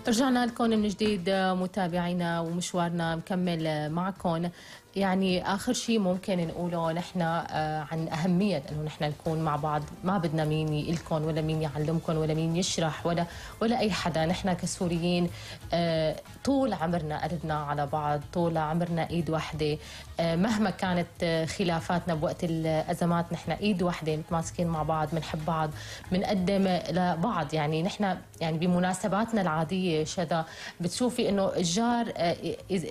رجعنا لكم من جديد متابعينا ومشوارنا مكمل معكم. يعني آخر شيء ممكن نقوله نحن عن أهمية أنه نحن نكون مع بعض. ما بدنا مين يقلكم ولا مين يعلمكم ولا مين يشرح ولا أي حدا. نحن كسوريين طول عمرنا قلبنا على بعض، طول عمرنا إيد واحدة. مهما كانت خلافاتنا بوقت الأزمات نحن إيد واحدة، متماسكين مع بعض، بنحب بعض، بنقدم لبعض. يعني نحن يعني بمناسباتنا العادية شدا بتشوفي إنه الجار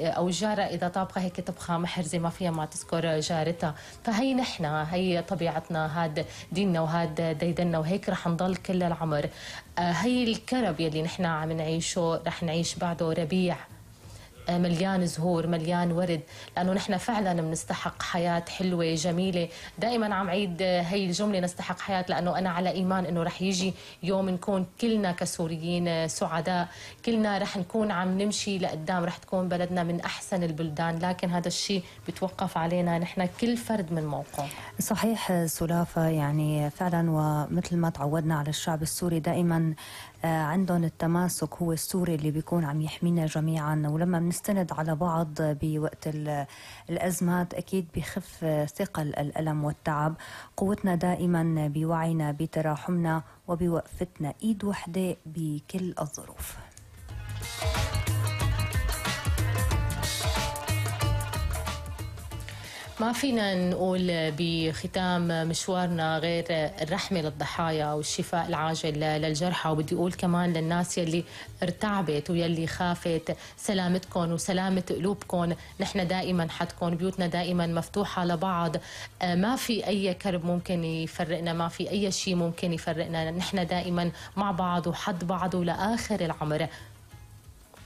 أو الجارة إذا طابخة هيك طبخة محرزة ما فيها ما تذكر جارتها. فهي نحن، هي طبيعتنا، هاد ديننا وهاد ديدنا، وهيك رح نضل كل العمر. هي الكرب يلي نحن عم نعيشه رح نعيش بعده ربيع مليان زهور، مليان ورد، لأنه نحن فعلا بنستحق حياة حلوة جميلة. دائما عم عيد هي الجملة نستحق حياة، لأنه أنا على إيمان أنه رح يجي يوم نكون كلنا كسوريين سعداء، كلنا رح نكون عم نمشي لقدام، رح تكون بلدنا من أحسن البلدان. لكن هذا الشيء بتوقف علينا نحن كل فرد من موقع. صحيح سلافة، يعني فعلا ومثل ما تعودنا على الشعب السوري دائما عندهم التماسك، هو السوري اللي بيكون عم يحمينا جميعا. ولما بنستند على بعض بوقت الأزمات أكيد بيخف ثقل الألم والتعب. قوتنا دائما بوعينا، بتراحمنا، وبوقفتنا إيد وحدة بكل الظروف. ما فينا نقول بختام مشوارنا غير الرحمة للضحايا والشفاء العاجل للجرحى. وبدي أقول كمان للناس يلي ارتعبت ويلي خافت، سلامتكم وسلامة قلوبكم. نحن دائما حدكم، بيوتنا دائما مفتوحة لبعض. ما في أي كرب ممكن يفرقنا، ما في أي شيء ممكن يفرقنا. نحن دائما مع بعض وحد بعض ولآخر العمر.